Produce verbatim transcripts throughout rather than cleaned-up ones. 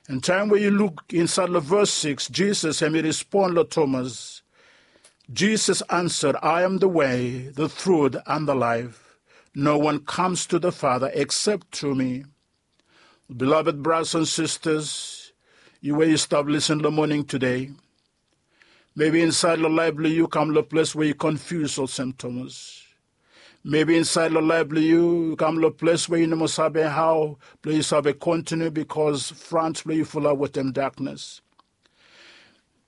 An taem we yu luk insaed long ves sikis, Jisas hem i respon long Tomas. Jisas ansad, "I am the way, the truth, and the life. No one comes to the Father except through me." Beloved brothers and sisters, yu we yu stap lisin long moning tede, mebi insaed long laef blong yu kam long ples we yu konfius olsem Tomas. Mebi insaed long laef blong yu kam long ples we yu no moa save hao blong yu save kontiniu bikos frans blong yu fulap wetem daknes.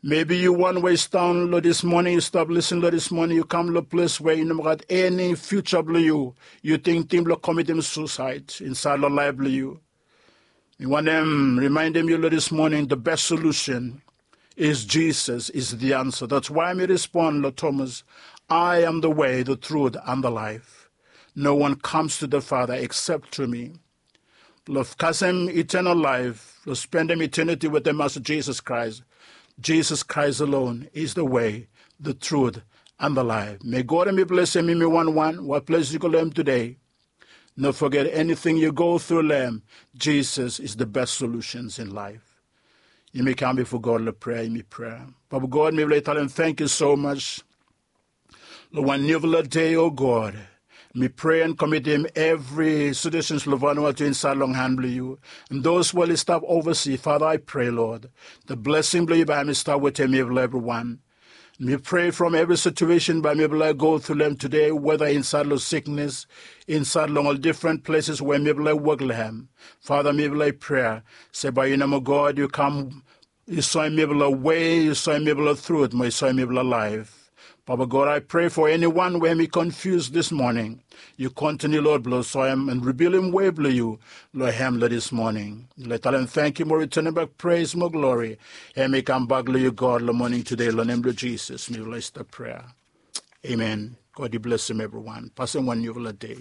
Mebi yu wan we yu stap long dis moning, yu stap lisin long dis moning, yu kam long ples we yu no moa gat eni fiuja blong yu. Yu tingting blong komitim susaed insaed long laef blong yu. Mi wantem rimaendem yu long dis moning, the best solution is Jesus is the answer. That's why mi respon long Tomas, "I am the way, the truth, and the life. No one comes to the Father except through me." Blong kasem eternal life, blong spendem eternity wetem Masta Jisas Kraes. Jisas Kraes alone is the way, the truth, and the life. May God hem i blesem yumi wanwan, whatever ples yu go long hem tede. No foget, anything yu go tru long hem, Jisas is the best solutions in life. Yumi kam bifo God long prea, yumi prea. Papa God, mifala i talem tangkiu so mas long wan niufala dei, o God. Mi prea an komitim evri sitisen blong Vanuatu insaed long han blong yu. An dos we oli stap ovasi, Fata, I prea, Lod, the blesing blong yu bae hem i stap wetem mifala evriwan. Mi prea from evri situesen bae mifala i go tru long hem tede, weta insaed long siknes, insaed long ol difren pleses we mifala i wok long hem. Fata, mifala i prea se bae yu nomo, God, yu kam, yu soem mifala wei, yu soem mifala trut, mo yu soem mifala laef. Papa God, I prea fo eniwan we hem i konfius dis moning. Yu kontiniu, Lod, blong soem an rivilim wei blong yu long hem long dis moning. Mifala i talem tangkiu mo ritenem bak pres mo glori. Hem i kambak long yu, God, long moning tede, long nem blong Jisas mifala i stap prea. Amen. God i blesem evriwan. Pasem wan niufala dei.